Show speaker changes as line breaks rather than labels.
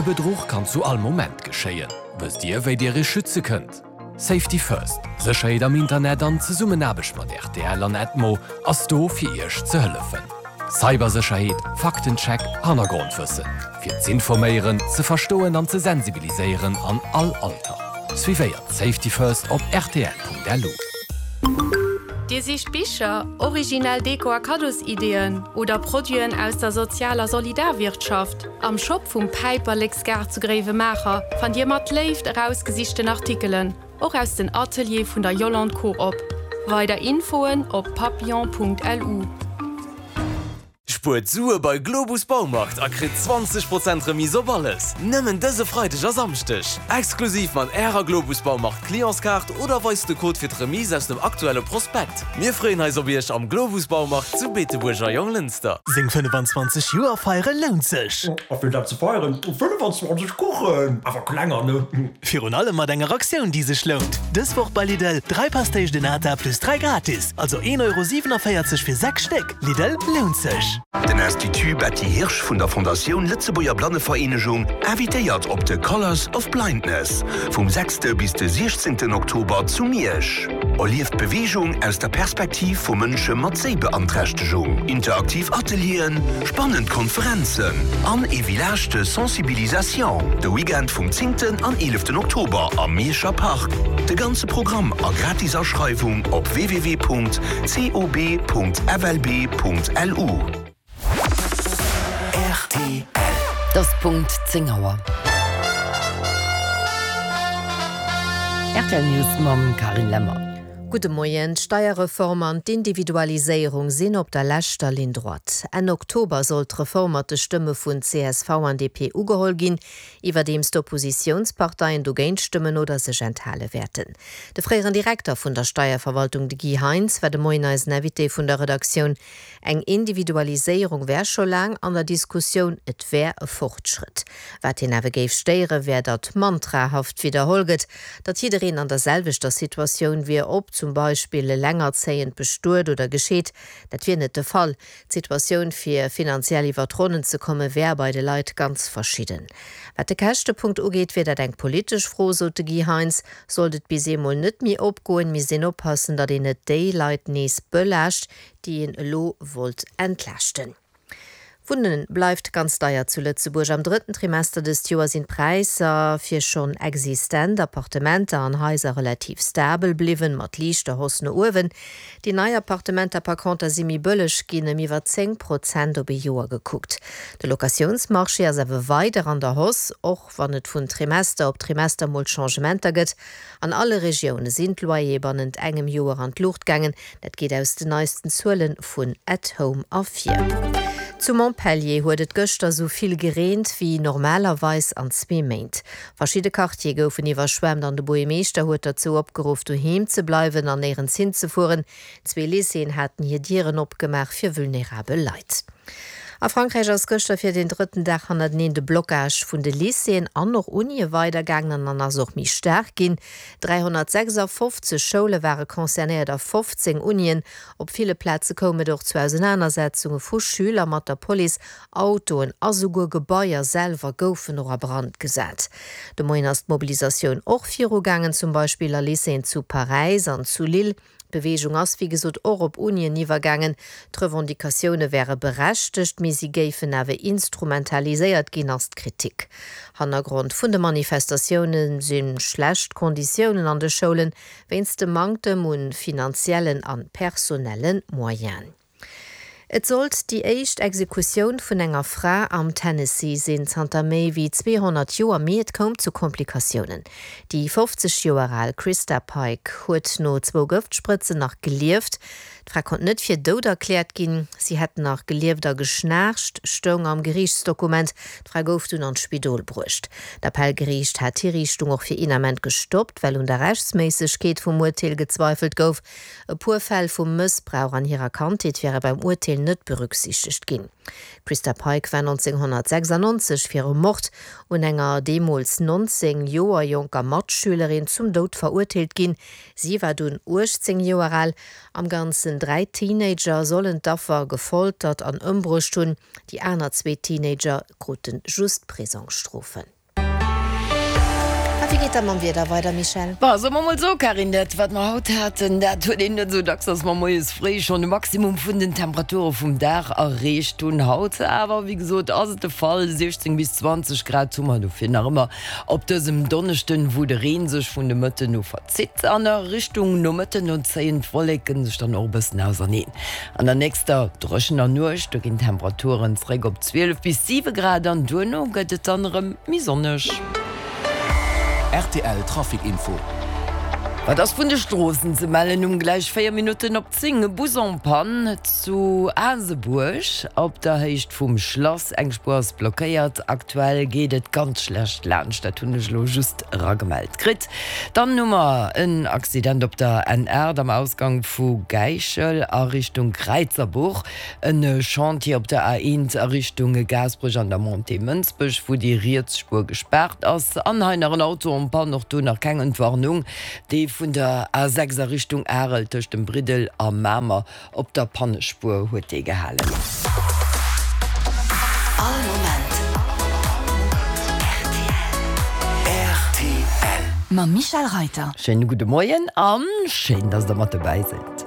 E Bedruch kann zu all Moment geschéien. Wësst Dir, wéi Dir Iech schütze kënnt? Safety First, Sécherheet am Internet an Zesummenaarbecht mat rtl an Edmo ass do fir Iech ze hëllefen. Cybersécherheet, Faktencheck, Hannergrondwëssen. Fir z'informéieren, ze verstoen an ze sensibiliséieren an all Alter. Suivéiert Safety First op rtl.lu.
Dir sicht Bicher, originell Deko a Kaddosideeën oder Produiten aus der Sozial a Solidarwirtschaft? Am Shop vum Päiperleksgaart zu Gréiwemaacher fannt Dir mat Léift erausgesichten Artikelen, och aus den Ateliere vun der Yolande Coop. Weider Infoen op papillon.lu.
Spuert Sue bei Globus Baumarkt a kritt 20 Prozent Remise op alles! Nëmmen dëse Freideg a Samschdeg! Exklusiv mat Ärer Globus Baumarkt Clientskaart oder weist de Code fir d'Remise aus dem aktuelle Prospekt. Mir freeën eis op Iech am Globus Baumarkt zu Beetebuerg a Jonglënster.
Seng 25 Joer feiere lount sech!
A fir dat ze feieren, 25 Kuchen, awer klenger, ne?
Virun allem mat enger Aktioun déi sech lount! Dës Woch bei Lidl, 3 Pastéis de Nata plus 3 gratis, also 1,47 Euro fir 6 Stéck. Lidl, lount sech!
Den Institut Betty Hirsch vun der Fondatioun Lëtzebuerger Blannevereenegung invitéiert op de Colours of Blindness vum sechste bis de siechzéngten Oktober zu Miersch. Erlieft d'Beweegung aus der Perspektiv vu Mënsche mat Séibeanträchtegung. Interaktiv Atelieren, spannend Konferenzen an ee Village de Sensibilisation de Weekend vum zéngten an eeleften Oktober am Mierscher Park. De ganze Programm a gratis Aschreiwung op www.cob.flb.lu.
Rtl. Et ass Punkt 10 Auer. Rtl News mam Carine Lemmer.
Gudde Moien. D'Steierreform an d'Individualiséierung sinn op der leschter Ligne droite. Enn Oktober soll d'Reform mat de Stëmme vun csv an DP ugeholl ginn, iwwerdeems d'Oppositiounsparteien dogéint stëmmen oder sech enthale wäerten. De fréieren Direkter vun der Steierverwaltung, de Guy Heintz, war de Moien eisen Invité vun der Redaktioun. Eng Individualiséierung wär scho laang an der Diskussioun, et wär e Fortschrëtt. Wat hien awer géif stéiere wär, datt mantrahaft widderholl gëtt, datt jiddereen an der selwechter Situatioun wier, ob zum Beispill elengerzéiend, bestuet oder gescheet. Dat wier net de Fall. D'Situatioun fir finanziell iwwer d'Ronnen ze komme wär bei de Leit ganz verschidden. Wat de Käschtepunkt ugeet, wier dat eng politesch Fro, sot de Guy Heintz. Sollt et bis eemol net méi opgoen, misst een oppassen, datt een net déi Leit nees belaascht, déi een elo wollt entlaaschten. Wunne bleift ganz deier zu Lëtzebuerg. Am drëtten Trimester dëst Joer sinn d'Präisser fir schonn existent Appartementer an Haiser relativ stabel bliwwen, mat liichter Hausse no uewen. Déi nei Appartementer par conter si méi bëlleg ginn, ëm iwwer 10 Prozent op ee Joer gekuckt. De Locatiounsmarché ass awer weider an der Hausse, och wann et vun Trimester op Trimester mol Changementer gëtt. An alle Regioune sinn d'Loyere bannent engem Joer an d'Luucht gaangen. Dat geet aus den neisten Zuele vun At Home ervir. Zu Montpellier huet et gëschter sou vill gereent wéi normalerweis an zwee Méint. Verschidde Quartiere goufen iwwerschwemmt an de Buergermeeschter huet derzou opgeruff, doheem ze bleiwen an néierens hinzefueren. Zwee Lycéeën haten hir Dieren opgemaach fir vulnerabel Leit. A Frankräich ass gëschter fir den drëtten Dag hannerteneen de Blockage vun de Lycéeën an och Unie weidergaangen an ass och méi staark ginn. 356 Schoule ware concernéiert a 15 Unien. Op ville Plaze koum et och zu Ausenanersetzunge vu Schüler mat der Police. Autoen a souguer Gebaier selwer goufen och a Brand gesat. De Moien ass d'Mobilisatioun och virugaangen, zum Beispill a Lycéeën zu Paräis an zu Lille. D'Beweegung ass wéi gesot och op Unien iwwergaangen. D'Revendicatioune wäre berechtegt, mee si géifen awer instrumentaliséiert ginn, ass d'Kritik. Hannergrond vun de Manifestatioune si schlecht Konditiounen an de Schoulen, wéinst dem Manktem un finanziellen a personelle Moyenen. Et sollt déi éischt Exekutioun vun enger Fra am Tennessee sinn zanter méi wéi 200 Joer, mee et koum zu Komplikatiounen. Déi 50 Joer al Christa Pike huet no zwou Gëftsprëtzen nach gelieft. D'Fra konnt net fir dout erkläert ginn. Si hätt nach gelieft a geschnaarcht, stoung am Geriichtsdokument. D'Fra gouf dunn an d'Spidol bruecht. D'Appellgeriicht hat d'Hiriichtung och fir een Ament gestoppt, well un der Rechtsméissegkeet vum Urteel gezweifelt gouf. E puer Fäll vu Mëssbrauch an hirer Kandheet wäre beim Urteel net berücksichtegt ginn. D'Christa Pike war 1996 fir e Mord un enger deemools 19 Joer jonker Matschülerin zum Doud verurteelt ginn. Si war dunn 18 Joer al. Am Ganzen 3 Teenager sollen d'Affer gefoltert an ëmbruecht hunn. Déi aner zwee Teenager krute just Prisongsstrofen. A wéi geet da mam Wieder weider, Michèle?
Bon, soe mer mol esou, Carine, dat wat mer haut haten, dat huet een net esou dacks, dass mer moies fréi schonn de Maximum vun den Temperature vum Dag erreecht hunn. Haut awer, wéi gesot, ass et de Fall, 16 bis 20 Grad hu mer dofir nach ëmmer op dësem Donneschden, wou de Reen sech vun de Mëtten u verzitt. An a Richtung Nomëtten no zéien d'Wolleke sech dann och e bëssen auserneen. An der nächster dréchener Nuecht, do ginn d'Temperaturen zeréck op 12 bis 7 Grad an duerno gëtt et dann erëm méi sonneg.
Rtl Trafic Info.
Wat ass vun de Stroossen ze mellen? Um gläich 4 Minutten op 10 e Bus en panne zu Asebuerg op der Héicht vum Schlass. Eng Spuer ass blockéiert. Aktuell geet et ganz schlecht laanscht, dat hunn ech elo just eragemellt kritt. Dann hu mer en Accident op der N8 am Ausgang vu Gäichel a Richtung Kräizerbuch, en Chantier op der A1 a Richtung Gaasperech an der Montée Mënsbech, wou déi riets Spuer gespaart ass. An hei nach en Auto en panne, och do nach keng Entwarnung, dee vun der A6 a Richtung Arel tëscht dem Briddel a Mamer. Op der Pannespuer huet dee gehalen.
All Moment rtl. Mam Michèle Reiter.
Schéine gudde Moien an schéin, dass der mat dobäi sidd.